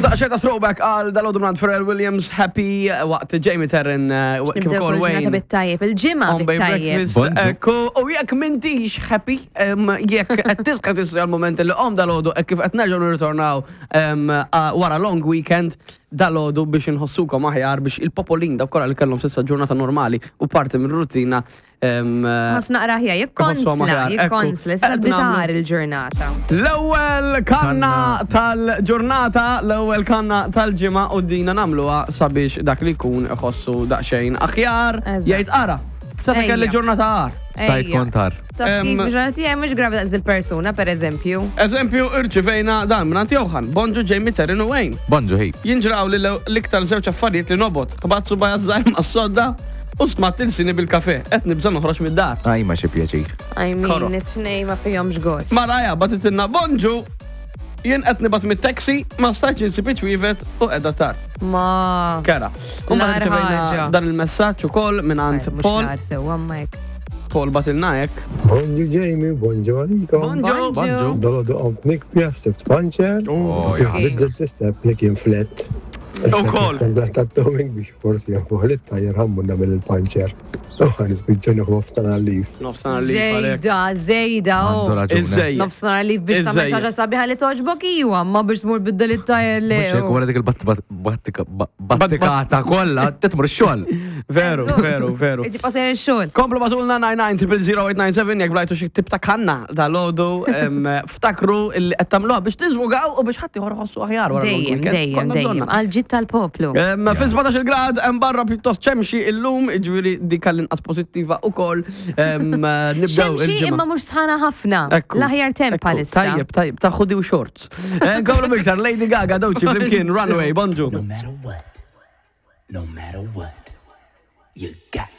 Daqsxejn ta' throwback għal dal-għodu minn Pharrell Williams, Happy, waqt Jamie Terren, kif Nibdew ukoll kull ġurnata Wayne. bit-tajjeb, il-ġimgħa On Bay bit-tajjeb. Breakfast. Bonġu. Ekku, u jekk m'intix happy, jekk qed tisqa tisri għal-moment li qom dal-għodu, hekk kif qed nerġgħu nirritornaw wara long weekend dal-għodu biex inħossukom aħjar biex il-popolin dawk kollha li kellhom s'issa ġurnata normali u parti minn rutina Ħoss naqra aħjar, Iħossuhom jikkonsla, aħjar, ekku. jikkonsla, issa Qed bitar nagħmlu- il-ġurnata. L-ewwel kanna tal-ġurnata, l-ewwel kanna tal-ġimgħa u dina nagħmluha sabiex dak li jkun iħossu daqsxejn aħjar. Eżatt. Jgħid ara, seta' kelli Ejja. ġurnata agħar. Stajt Ejja. kontar. Taf kif ġurnata tiegħi mhux gravi daqs il-persuna, pereżempju. Eżempju, irċivejna dan minn Johan, Bonġu Jamie Terrin u Wayne. Bonġu ħi. Jinġraw li l-iktar żewġ affarijiet li nobgħod, ħbatt subgħajja żgħir mas-sodda u smatt ilsini bil-kafe, qed nibża' noħroġ mid-dar. Aj ma xi pjaċir. I mean, Koro. it-tnej ma fihomx gost. Maraja bagħtitilna bonġu, jien qed nibgħat mit-taxi, ma stajtx insib iċ-ċwievet u qiegħda tard. Ma. Kera. U mbagħad L-agħar irċevejna ħaġa. dan il-messaġġ ukoll mingħand Mhux Paul. nar sewwa ma hekk. Paul bagħtilna hekk. Bonġu Jamie, bonġu għalikom. Bonġu. Bonġu. Dolodu qomt nikbi għas-sibt panċer. Oh, Kif biddelt l-istep li kien flet. Ukoll. Ta' towing biex forsi janfuħ li t-tajer ħammu nagħmel il-panċer. U ħan nispiċċa nieħu nofsinhar leave. Nofsinhar leave għalek. Zejda, zejda, Għandu oh. raġun. Iżżejjed. Nofsinhar leave biex tagħmel xi Iżżejjed. ħaġa sabiħa li toġbok iwa, ma biex tmur biddel it-tajer le. Mhux hekk wara dik il-battikata kollha titmur ix-xogħol. Veru, veru, veru. Inti passer ix-xogħol. Komplu bagħtulna 99 000 897 jekk blajtu xi tip ta' kanna dal-għodu ftakru li qed tagħmluha biex tiżvugaw u biex ħadd ieħor iħossu aħjar wara long Dejjem, weekend. dejjem, Konna dejjem. bżonna. Għal ġid tal-poplu. Fi 17 grad hemm barra pjuttost xemxi illum, jiġifieri dik għall-inqas pożittiva ukoll. Nibdew Xemxi il-ġimgħa. imma mhux sħana ħafna. Ekku. L-aħjar temp Ekku, bħalissa. Tajjeb, tajjeb, ta' hoodie u shorts. Nkomplu biktar, Lady Gaga, Doechii, flimkien, Runaway, bonġu. No matter what, no matter what, you got